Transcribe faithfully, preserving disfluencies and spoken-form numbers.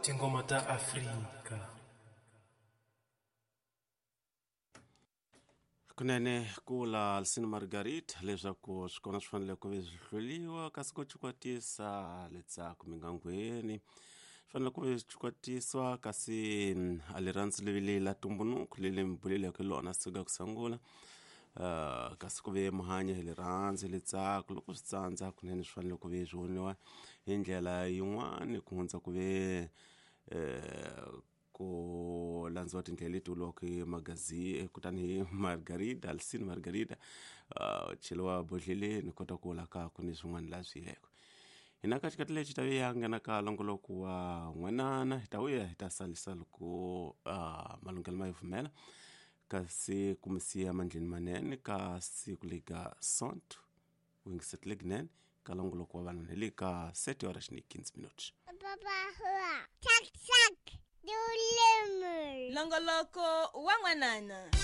Tinghoma ta Afrika. Kunene kula Alcine Margarita leswaku swi kona swi fanele ku ve swi hluriwa kasi ku cukwatisa letsako mingangweni swi fanele ku ve swi cukwatisiwa kasi a rirhandzu levile la tumbunuku leli mi buleleke lona suka ku sungula uh, kasi ku ve muhanya hi rirhandzu letsako loko swi tsandza kunene swi fanele ku ve swi voniwa hi ndlela yin'wani ku hundza ku ve eh, ku landziwa tindlela leti vuriwaka hi magazi kutani hi Margarida Alcine Margarida uh, cheliwa bodleleni kota ku vula ka ku ni swin'wana la swi yileko hina ka xikati lexi ta ve ya nghena ka longoloko wa n'wanana hi ta vuya hi ta salisa loko uh, malunghelo ma yi pfumela kasi ku mi siya mandleni manene ka siku leka sonto wingiseti lekinene ka longoloko wa vanhu hi le ka sete horas ni quinze minutos. Papa, tak tak. Longoloko wa n'wanana.